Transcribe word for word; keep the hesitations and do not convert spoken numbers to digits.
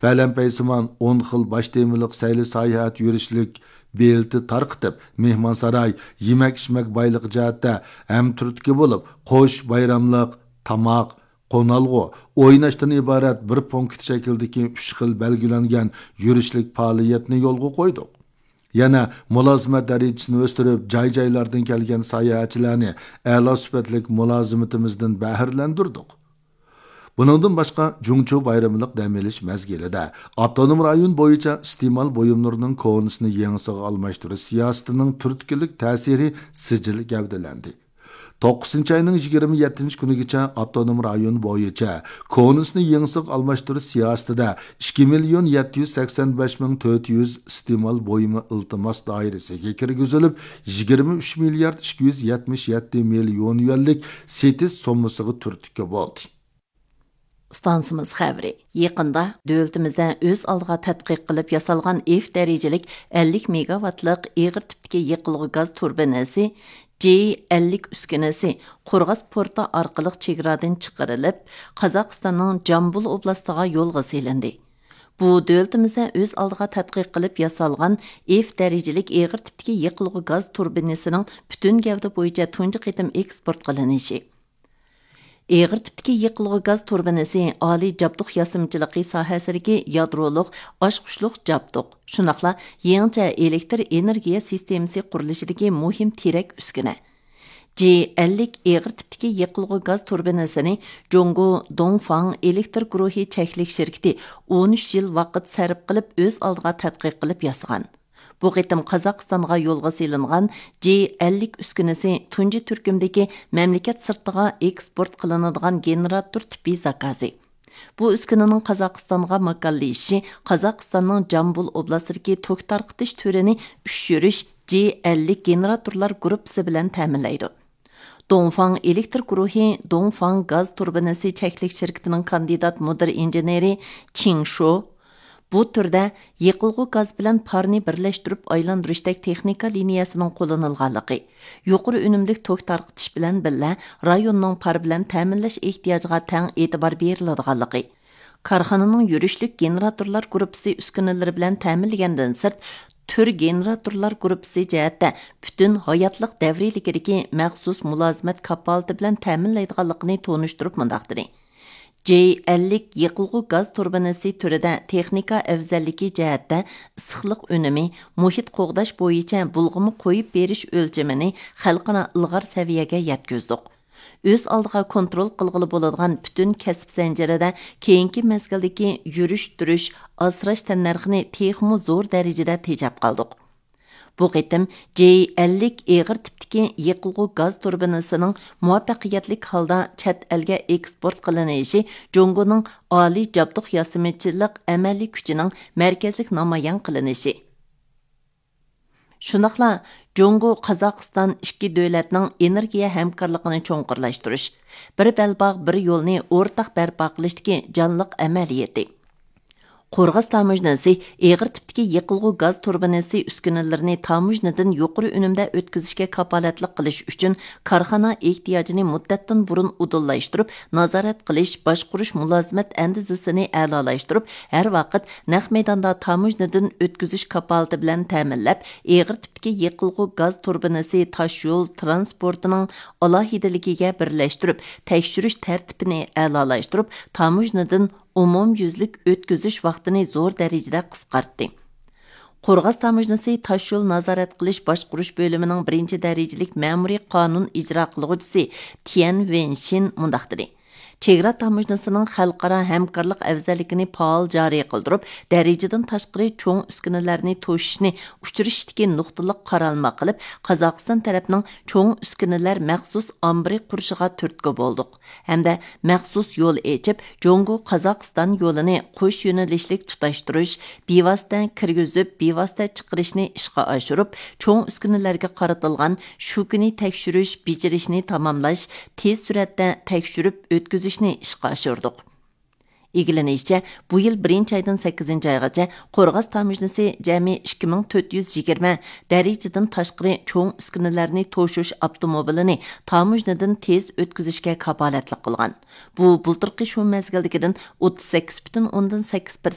پەلەمپەيسىمان ئون خىل باش تېمىلىق سەيلە ساياھەت يۈرۈشلۈك بېلىتى تارقىتىپ، مېھمانساراي، يېمەك ئىچمەك بايلىقى جەھەتتە ھەمتۈرتكە بولۇپ، قوش بايراملىق تاماق، قونالغۇ، ئويناشتىن ئىبارەت بىر پونكىت شەكلىدىكى ئۈچ خىل بەلگىلەنگەن يۈرۈشلۈك پائالىيەتنى يولغا قويدۇق. يەنە مۇلازىمەت دەرىجىسىنى ئۆستۈرۈپ، جاي-جايلاردىن كەلگەن ساياھەتچىلەرنى ئەلا سۈپەتلىك مۇلازىمىتىمىزدىن بەھرىلەندۈردۇق. بۇنىڭدىن باشقا، جۇڭچۇ بايرىملىق دەم ئېلىش مەزگىلىدە ئاپتونوم رايون بويىچە ئىستېمال بۇيۇملىرىنىڭ كونىسىنى يېڭىسىغا ئالماشتۇرۇش سىياسىتىنىڭ تۈرتكىلىك تەسىرى سىجىل گەۋدىلەندى. توققۇزىنچى ئاينىڭ يىگىرمە يەتتىنچى كۈنىگىچە ئاپتونوم رايون بويىچە كونىسىنى يېڭىسىغا ئالماشتۇرۇش سىياسىتىدە ئىككى مىليون يەتتە يۈز سەكسەن بەش مىڭ تۆت يۈز ئىستېمال بۇيۇمى ئىلتىماس دائىرىسىگە كىرگۈزۈلۈپ، يىگىرمە ئۈچ مىليارد ئىككى يۈز يەتمىش يەتتە مىليون يۈەنلىك سېتىش سوممىسىغا تۈرتكە بولدى. ئىستانسىمىز خەۋىرى. يېقىندا دۆلىتىمىزدە ئۆز ئالدىغا تەتقىق قىلىپ ياسالغان ئېف دەرىجىلىك ئەللىك مېگاۋاتلىق ئېغىر تىپتىكى يېقىلغۇ گاز تۇربىنىسى، جى ئەللىك ئۈسكۈنىسى قورغاس پورتى ئارقىلىق چېگرادىن چىقىرىلىپ، قازاقىستاننىڭ جامبۇل ئوبلاستىغا يولغا سېلىندى. بۇ دۆلىتىمىزدە ئۆز ئالدىغا تەتقىق قىلىپ ياسالغان ئېف دەرىجىلىك ئېغىر تىپتىكى يېقىلغۇ گاز تۇربىنىسىنىڭ پۈتۈن گەۋدە بويىچە تۇنجى قېتىم ئېكسپورت قىلىنىشى. ئېغىر تىپتىكى يېقىلغۇ گاز تۇربىنىسى ئالىي جابدۇق ياسىمىچىلىقى ساھەسىدىكى يادرولۇق ئاچقۇچلۇق جابدۇق، شۇنداقلا يېڭىچە ئېلېكتر ئېنېرگىيە سىستېمىسى قۇرۇلۇشىدىكى مۇھىم تىرەك ئۈسكۈنە. جى ئەللىك ئېغىر تىپتىكى يېقىلغۇ گاز تۇربىنىسىنى جۇڭگو دوڭفاڭ ئېلېكتر گۇرۇھى چەكلىك شىركىتى ئون ئۈچ يىل ۋاقىت سەرپ قىلىپ، ئۆز ئالدىغا تەتقىق قىلىپ ياسىغان. بۇ قېتىم قازاقىستانغا يولغا سېلىنغان جى ئەللىك ئۈسكۈنىسى تۇنجى تۈركۈمدىكى مەملىكەت سىرتىغا ئېكسپورت قىلىنىدىغان گېنېراتور تىپى زاكازى. بۇ ئۈسكۈنىنىڭ قازاقىستانغا ماكانلىشىشى قازاقىستاننىڭ جامبۇل ئوبلاستىدىكى توك تارقىتىش تۈرىنى ئۈچ يۈرۈش جى ئەللىك گېنېراتورلار گۇرۇپپىسى بىلەن تەمىنلەيدۇ. دوڭفاڭ ئېلېكتر گۇرۇھى دوڭفاڭ گاز تۇربىنىسى چەكلىك شىركىتىنىڭ كاندىدات مۇدىر ئىنژېنېرى چىڭ شو، بۇ تۈردە يېقىلغۇ گاز بىلەن پارنى بىرلەشتۈرۈپ ئايلاندۇرۇشتەك تېخنىكا لىنىيەسىنىڭ قوللىنىلغانلىقى، يۇقىرى ئۈنۈملۈك توك تارقىتىش بىلەن بىللە رايوننىڭ پار بىلەن تەمىنلەش ئېھتىياجىغا تەڭ ئېتىبار بېرىلىدىغانلىقى، كارخانىنىڭ يۈرۈشلۈك گېنېراتورلار گۇرۇپپىسى ئۈسكۈنىلىرى بىلەن تەمىنلىگەندىن سىرت، تۈر گېنېراتورلار گۇرۇپپىسى جەھەتتە پۈتۈن ھاياتلىق دەۋرىيلىكىدىكى مەخسۇس مۇلازىمەت كاپالىتى بىلەن تەمىنلەيدىغانلىقىنى تونۇشتۇرۇپ مۇنداق دېدى: جى ئەللىك يېقىلغۇ گاز تۇربىنىسى تۈرىدە تېخنىكا ئەۋزەللىكى جەھەتتە ئىسسىقلىق ئۈنۈمى، مۇھىت قوغداش بويىچە بۇلغىما قويۇپ بېرىش ئۆلچىمىنى خەلقئارا ئىلغار سەۋىيەگە يەتكۈزدۇق. ئۆز ئالدىغا كونترول قىلغىلى بولىدىغان پۈتۈن كەسىپ زەنجىرىدە كېيىنكى مەزگىلدىكى يۈرۈش تۇرۇش، ئاسراش تەننەرخىنى تېخىمۇ زور دەرىجىدە تېجەپ قالدۇق. بۇ قېتىم جى ئەللىك ئېغىر تىپتىكى يېقىلغۇ گاز تۇربىنىسىنىڭ مۇۋەپپەقىيەتلىك ھالدا چەت ئەلگە ئېكسپورت قىلىنىشى جۇڭگونىڭ ئالىي جابدۇق ياسىمىچىلىق ئەمەلىي كۈچىنىڭ مەركەزلىك نامايان قىلىنىشى. شۇنداقلا جۇڭگو قازاقىستان ئىككى دۆلەتنىڭ ئېنېرگىيە ھەمكارلىقىنى چوڭقۇرلاشتۇرۇش، بىر بەلباغ، بىر يولنى ئورتاق بەرپا قىلىشتىكى جانلىق ئەمەلىيىتى. قورغاس تاموژنىسى ئېغىر تىپتىكى يېقىلغۇ گاز تۇربىنىسى ئۈسكۈنىلىرىنى تاموژنىدىن يۇقىرى ئۈنۈمدە ئۆتكۈزۈشكە كاپالەتلىك قىلىش ئۈچۈن كارخانا ئېھتىياجىنى مۇددەتتىن بۇرۇن ئۇدۇللاشتۇرۇپ، نازارەت قىلىش، باشقۇرۇش مۇلازىمەت ئەندىزىسىنى ئەلالاشتۇرۇپ، ھەر ۋاقىت نەق مەيداندا تاموژنىدىن ئۆتكۈزۈش كاپالىتى بىلەن تەمىنلەپ، ئېغىر تىپتىكى يېقىلغۇ گاز تۇربىنىسى تاشيول ترانسپورتىنىڭ ئالاھىدىلىكىگە بىرلەشتۈرۈپ، تەكشۈرۈش تەرتىپىنى ئەلالاشتۇرۇپ، تاموژنىدىن ئومۇميۈزلۈك ئۆتكۈزۈش ۋاقتىنى زور دەرىجىدە قىسقارتتى. قورغاس تاموژنىسى تاشيول نازارەت قىلىش باشقۇرۇش بۆلۈمىنىڭ بىرىنچى دەرىجىلىك مەمۇرىي قانۇن ئىجرا قىلغۇچىسى تيەن ۋېنشىن مۇنداق دېدى: چېگرا تاموژنىسىنىڭ خەلقئارا ھەمكارلىق ئەۋزەللىكىنى پائال جارى قىلدۇرۇپ، دەرىجىدىن تاشقىرى چوڭ ئۈسكۈنىلەرنى توشۇشنى ئۇچرىشىشتىكى نۇقتىلىق قارالما قىلىپ، قازاقىستان تەرەپنىڭ چوڭ ئۈسكۈنىلەر مەخسۇس ئامبىرى قۇرۇشىغا تۈرتكە بولدۇق ھەمدە مەخسۇس يول ئېچىپ، جۇڭگو قازاقىستان يولىنى قوش يۆنىلىشلىك تۇتاشتۇرۇش، بىۋاسىتە كىرگۈزۈپ، بىۋاسىتە چىقىرىشنى ئىشقا ئاشۇرۇپ، چوڭ ئۈسكۈنىلەرگە قارىتىلغان شۇ كۈنى تەكشۈرۈش بېجىرىشنى تاماملاش، تېز سۈرئەتتە تەكشۈرۈپ ئۆتكۈزۈشنى ئىشقا ئاشۇردۇق. ئىگىلىنىشىچە، بۇ يىل بىرىنچى ئايدىن سەككىزىنچى ئايغىچە قورغاس تاموژنىسى جەمئىي ئىككى مىڭ تۆت يۈز يىگىرمە دەرىجىدىن تاشقىرى چوڭ ئۈسكۈنىلەرنى توشۇش ئاپتوموبىلىنى تاموژنىدىن تېز ئۆتكۈزۈشكە كاپالەتلىك قىلغان. بۇ بۇلتۇرقى شۇ مەزگىلدىكىدىن ئوتتۇز سەككىز پۈتۈن ئوندىن سەككىز